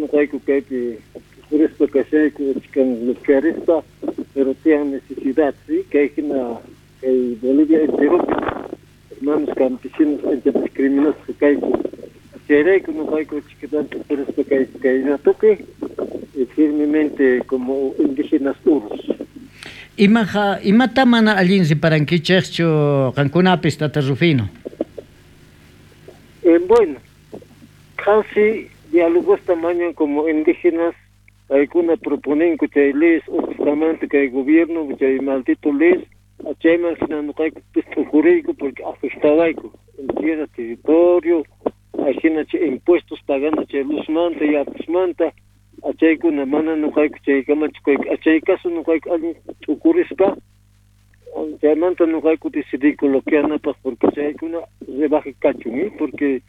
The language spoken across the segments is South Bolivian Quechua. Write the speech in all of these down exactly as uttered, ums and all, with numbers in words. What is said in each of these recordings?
Noqayku kaypi t'ukurispa kashayku chikan bloquearispa, pero tiyan necesidad, ¿sí? Kay hina kay Bolivia enteropi hermanos campesinos ancha discriminasqa kayku. Chayrayku noqayku chikatanta t'ukurispa kayku kay ratopi y firmemente como indígenas urus. Imaja, imata mana allin riparankichejchu qankunapis, Tata Rufino? Eh, bueno, casi diálogosta mañan como indígenas, paykuna proponenku chay leyes justamente kay gobierno chay maldito leyes chayman hina noqaykupis t'ukuriyku porque afectawayku en tierra, territorio, ajina chay impuestos pagando chay luzmanta, yakusmanta, achaykuna mana noqayku chaykamachu kayku. Chay caso noqayku allin t'ukurispa chaymanta noqayku decidiyku bloqueanapaq porque chaykuna rebaje kachun, ¿eh? Porque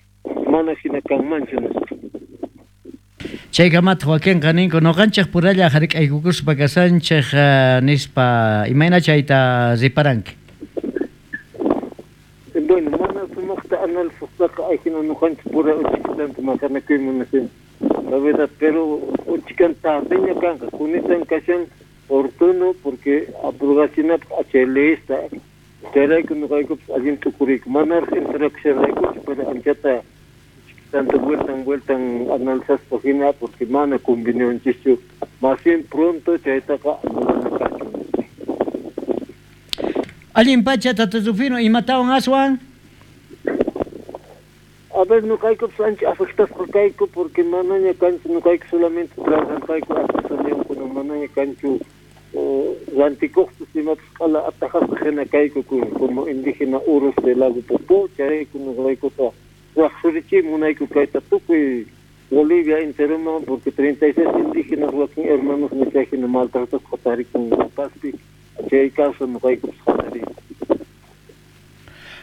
mana hina kanmanchu nispa. Chaykamataq wakinqa ninku noqanchej puralla hark'aykukuspa kasanchej nispa, imayna chayta riparanki? Bueno, mana sumaqta analizaspaqa ajina noqanchej pura uchikitanta maqanakuyman nishin. La verdad, pero uchikan tardeña kanqa, kunitan kashan oportuno porque abrogachinapaq achay leyesta chayrayku noqaykupis allin t'ukuriyku. Manaraq interaccionaykuchu, pero anchata tanto vueltan vueltan analizaspa hina porque mana convenienchischu. Más bien pronto chaytaqa mana kachun. Allin pacha, Tata Rufino, imatawan aswan? A ver, noqaykupis ancha afectasqa kayku porque manaña kanchu noqayku solamente trabajarqayku artesaníakuna, manaña kanchu rantikuqpis imapis q'ala atajasqa hina kayku como indígena urus de Lago Popó. Chayrayku noqaykuqa waqsurichiy munayku kayta tukuy Bolivia enteroman porque treinta y seis indígenas wakin hermanos chay hina maltratasqa tarikun La Pazpi, chay causa noqaykupis hatariyku.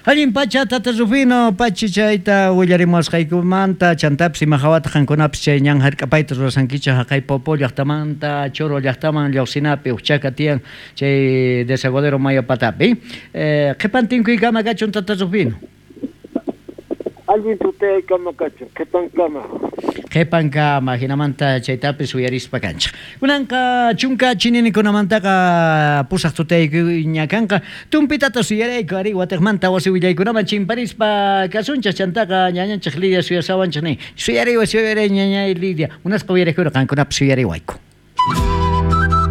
Allin pacha, Tata Rufino, pachi chayta willarimuwasqaykumanta, chantapis ima hawata qankunapis chay ñan hark'apayta rurasankichej haqay Popó llaqtamanta Choro llaqtaman lluqsinapi uqchaka tiyan chay desaguadero mayo patapi. Eh, qhipan tinkuykama kachun, Tata Rufino. Allin tutaykama kachun, qhipankama. Qhipankama, hinamanta chaytapis uyarispa kanchej. Kunanqa chunka chininikunamantaqa pusaq tutaykuña kanqa. Tumpitata suyarayku ari watejmanta wasi willaykunaman chimparispa kasunchej chantaqa ñañanchej Lidia suyasawanchej nin. Suyariway, suyaray ñañay Lidia. Munasqa uyarikuna qankunapis suyariwayku.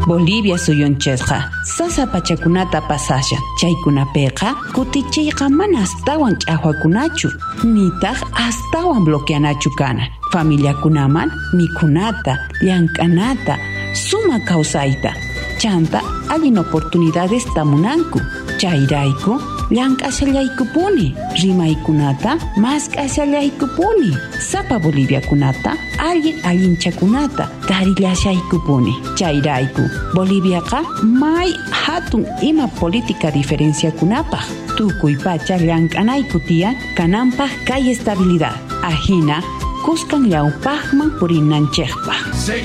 Bolivia suyunchejqa sasa pachakunata pasashan. Chaykunapiqa kutichiyqa mana astawan ch'aqwakunachu, nitaq astawan bloqueanachu kana. Familiakunaman mikhunata, llank'anata, suma kawsayta, chanta allin oportunidades tamunanku. Chayrayku llank'ashallaykupuni, rimaykunata mask'ashallaykupuni, sapa Boliviakunata allin allinchakunata tarillashaykupuni. Chayrayku Boliviaqa may hatun ima política diferenciakunapaq tukuy pacha llank'anayku tiyan kananpaq kay estabilidad. Ajina kuskan llawpaqman purinanchejpaq.